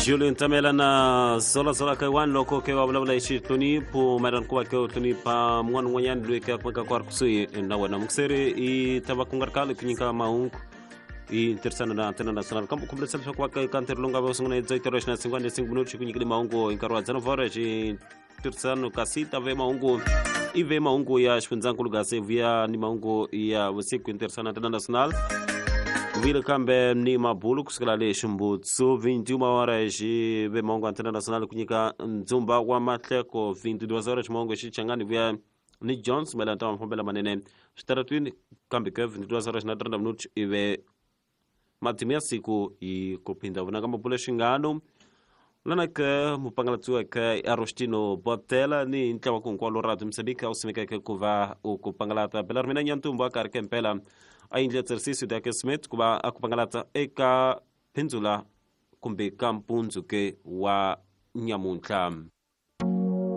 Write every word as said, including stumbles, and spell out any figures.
Julio Ntamela na Zola Zola ka one loko ke wa vulavula hi xihlonipho mayelana ku va ke u hlonipha mun'wana un'wanyana loyi ke a kumeka ku ri kusuhi na wena. Mukuseri i ta va ku nga ri khale ku nyika mahungu hi ntirhisano na Antena National, kambe khumbulisa leswaku va ka ntirho lowu nga va sungula hi dzaitirho xina singwana cinco minutos ku nyikile mahungu hi nkarhi wa dzana vhora xi ntirhisano, kasi ta ve mahungu i ve mahungu ya xifundzankulu gasi vuya ni mahungu ya vusiku hi ntirhisano na Antena National. Vile kambe ni mabulu kusukela le ximbutsu vinte e uma horas ve mahungu Antena National ku nyika ndzumba wa mahleko vinte e duas horas mahungu xichangani vuya ni Jones mayelana ta mafambelo manene switaratwini, kambe ke vinte e duas horas na trinta minutos ive matimu ya siku hi ku phinda vunanga mabulo xingano lana ke mupangalatsi ke Arostino Botela ni ntlawa ku hinkwalo radio Mozambique u simekeke ku va u ku pangalata bela ri mina Nyantumbu a karhi ke mpela a yindle tserisisi ya ke Smith ku va a ku pangalata eka phindzula kumbe ka mpundzu ke wa nyamuntlha.